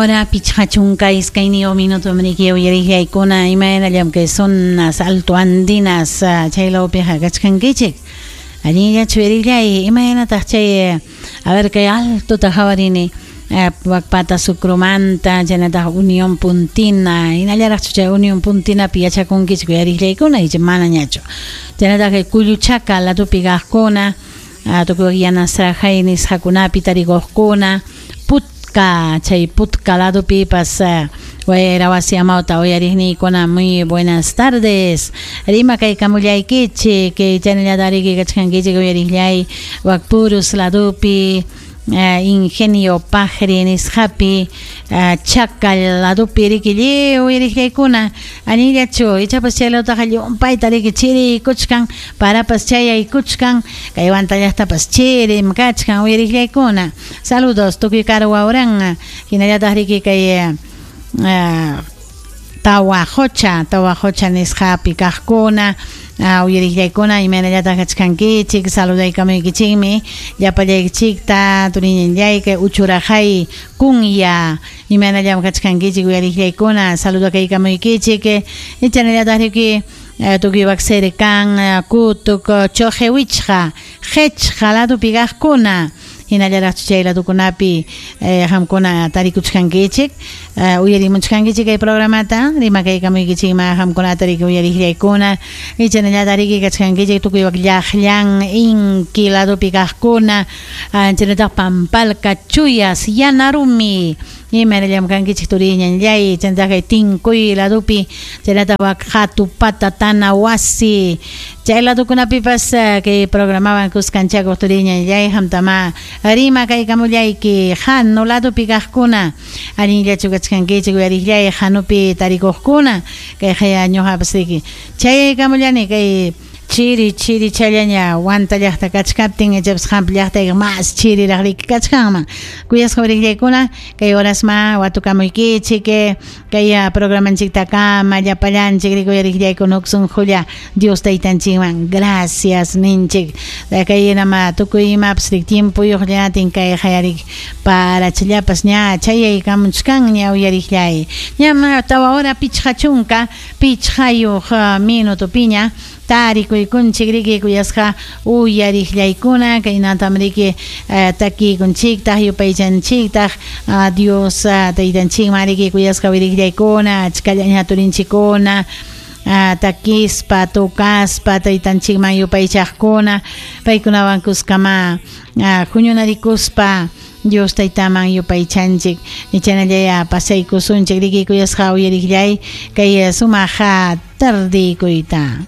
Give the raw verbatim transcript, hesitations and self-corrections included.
Hora pichqa chunka iskayniyuq minuto mriki uyariqllaykuna imaynallam kay zonas alto andinas chaylawpiqa kachkankichik allinllachu uyariqllay imaynataq chay a ver kay altota hawarini Wakpata Sucromanta chaynataq Unión Puntina hinallaraqchu chay Unión Puntinapi yachakunkichik uyariqllaykuna icha manañachu chaynataq kay Kulluchaka ladupi kaqkuna tukuy yanasrajay nisqakunapi tarikuqkuna Putka chay Putka ladupipas wayra wasi amawta uyariqniykuna muy buenas tardes rima kaykamullaykichik kay chaynallata riki kachkankichik uyariqllay Wakpurus ladupi Ingenio Pajri nisqapi Chacal ladupi riki lliw uyariqllaykuna allinllachu ichapas chay lawtaqa llumpayta riki chiriykuchkan parapas chayaykuchkan kay Huanta llaqtapas chirim kachkan uyariqllaykuna saludos tukuy Karuwawran hinallataq riki kay Tawajocha Tawajocha nisqapi kaqkuna uyariqllaykuna imaynallataq kachkankichik saludaykamuykichikmi llapallaykichikta turiñanllay kay Uchurajay kunya imaynallam kachkankichik uyariqllaykuna saludakaykamuykichik chaynallataq riki tukuy Waqsirkan Kutuk Chojewichqa Qechqa ladupi kaqkuna hinallaraqchu chay ladukunapi qamkuna tarikuchkankichik uyarimuchkankichik kay programata rimakaykamuykichikma qamkunata riki uyariqllaykuna chaynallata riki kachkankichik tukuy wak llaqllan inki ladupi kaqkuna chaynallataq Pampalka Chuyas Yanarumi imaynallam kankichik turiñanllay chaynallataq kay Tinkuy ladupi chaynallataq wak Hatupata Tanawasi chay ladukunapipas kay programawan kuskanchakuq turiñanllay qamtama rimakaykamullayki Hanu ladupi kaqkuna allinllachu kachkankichik uyariqllay Hanupi tarikuqkuna kay haya ñuqapas riki chayaykamullani kay chiri chiri challaña Huanta llaqta kachkaptin ichapas qampa llaqtayqa mas chiriraq riki kachkanman kuyasqa uyariqllaykuna kay horasma watukamuykichik kay programanchiktakama llapallanchik riki uyariqllaykuna huk sunqulla Dios taytanchikman gracias ninchik kay nama tukuy imapas riki tiempuyuqllatin kay hayarik parachallapas ña chayaykamuchkanña uyariqllay ñam tawa hora pichqa chunka pichqayuq minutopiña tarikuykunchik riki kuyasqa uyariqllaykuna kaynatam riki takiykunchiktaq yupaychanchiktaq Dios taytanchikman riki kuyasqa uyariqllaykuna achkallaña turinchikkuna takispa tukaspa taytanchikman yupaychaqkuna paykunawan kuskama huñunarikuspa Dios taytaman yupaychanchik chaynallaya pasaykusunchik riki kuyasqa uyariqllay kay sumaq tardikuyta.